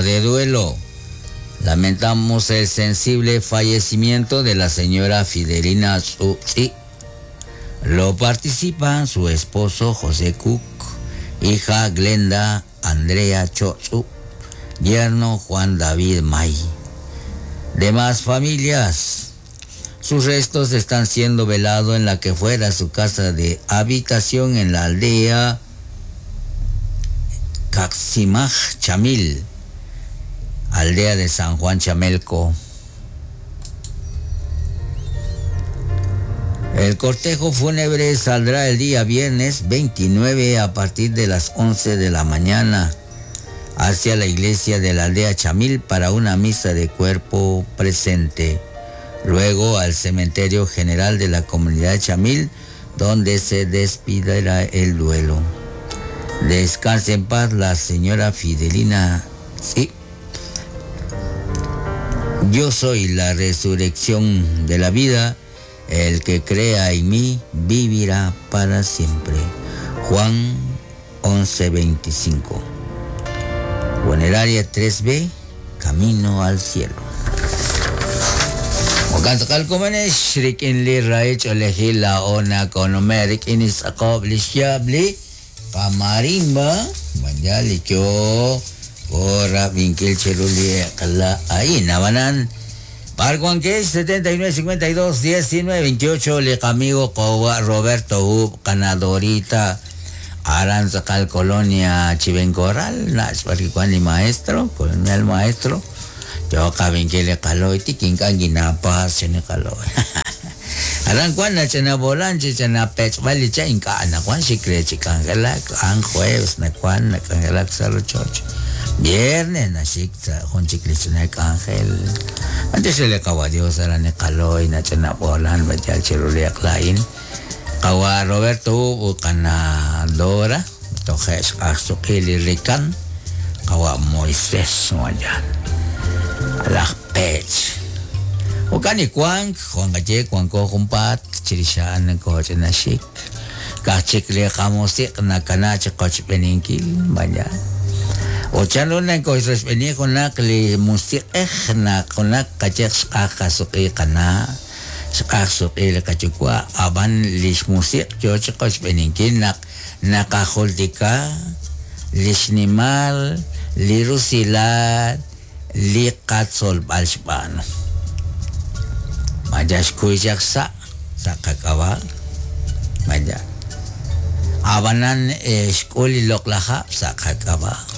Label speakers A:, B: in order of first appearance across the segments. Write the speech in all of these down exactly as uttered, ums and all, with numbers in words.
A: Nota de duelo. Lamentamos el sensible fallecimiento de la señora Fidelina Tzu. Lo participan su esposo José Cook, hija Glenda Andrea Chotzu, yerno Juan David May. Demás familias. Sus restos están siendo velados en la que fuera su casa de habitación en la aldea Caximaj Chamil, aldea de San Juan Chamelco. El cortejo fúnebre saldrá el día viernes veintinueve a partir de las once de la mañana hacia la iglesia de la aldea Chamil para una misa de cuerpo presente. Luego al cementerio general de la comunidad Chamil, donde se despidirá el duelo. Descanse en paz la señora Fidelina. Sí. Yo soy la resurrección de la vida. El que crea en mí vivirá para siempre. Juan once veinticinco. Funeraria tres B, Camino al Cielo. Kamarimba, Parguanquesh setenta y nueve cincuenta y dos diecinueve veintiocho, le amigo Kowa Roberto Ub, Canadorita, Aranzacal Colonia Chivencorral, Nachparquicuani maestro, colonel maestro, yo cabinquile caloy, tiquincanguinapa, chenecaloy. Arancuana, chena bolanche, chena pechvali, chenca, anacuan, chicre, chicangelac, an jueves, nacuan, nacangelac, salochocho. Viernes, naxictza, junchiclichnek ángel. Antes se le acabó a Dios, aranecaloy, nachena bolan, bachal chiruliaclain. Kawa Roberto Ucanadora, Tojes Azuquili Rican, Kawa Moisés, Mayan. Alaj Pech. Ukani Kuang, Juan Galle, Juan Cojumpat, Chirishan, Cochenashik, Kachikle Jamosik, Nakanache, Cochpeninkil, Mayan. Ochanuna koisrespenikuna kli musiqej na kachej xqajqasuq'iqana xqajsuq'il kachukwa aban lix musiq yoch qochpeninkil naq naqajultika lixnimal lirusilal liqatzolb'al xb'an mayax kuyaq sa saqak'awa maya abanan xk'ul loqlaja saqak'awa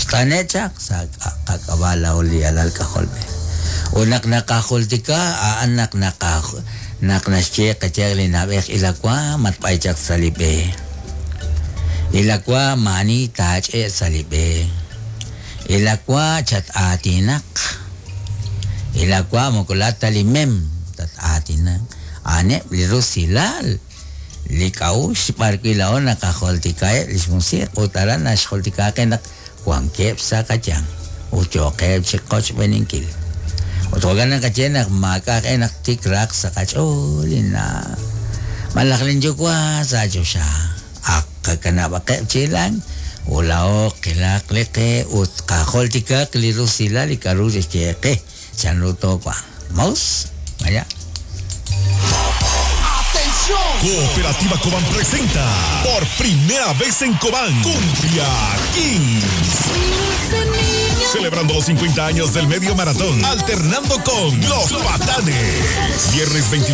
A: Tanechak sa kakabala uli alal kaholbe. Unak nakahultika anak nakah naknasche kachegli nabej ilakwa matpaychak salibe. Ilakwa mani tach e salibe. Ilakwa chat atinak. Ilakwa mukulata limem tat atinak. Ane lirusilal. Likaush parquilao nakaholtika e lismusir utaran nasholtika kenak Juan Kep Sakachan, Ucho Kep Chikoch Beninkil. Otogan ang kachenak, makakenak tikrak sa kacholina. Malaklin jukwa sa Diyosya. Akakanabakep chilang, ulao kilaklike, ut kaholtika klirusila likarusis cheke. Chanruto kwa. Maus, vaya.
B: Cooperativa Cobán presenta por primera vez en Cobán Cumbia Kings. Celebrando los cincuenta años del medio maratón, alternando con Los Patanes. Viernes veintinueve.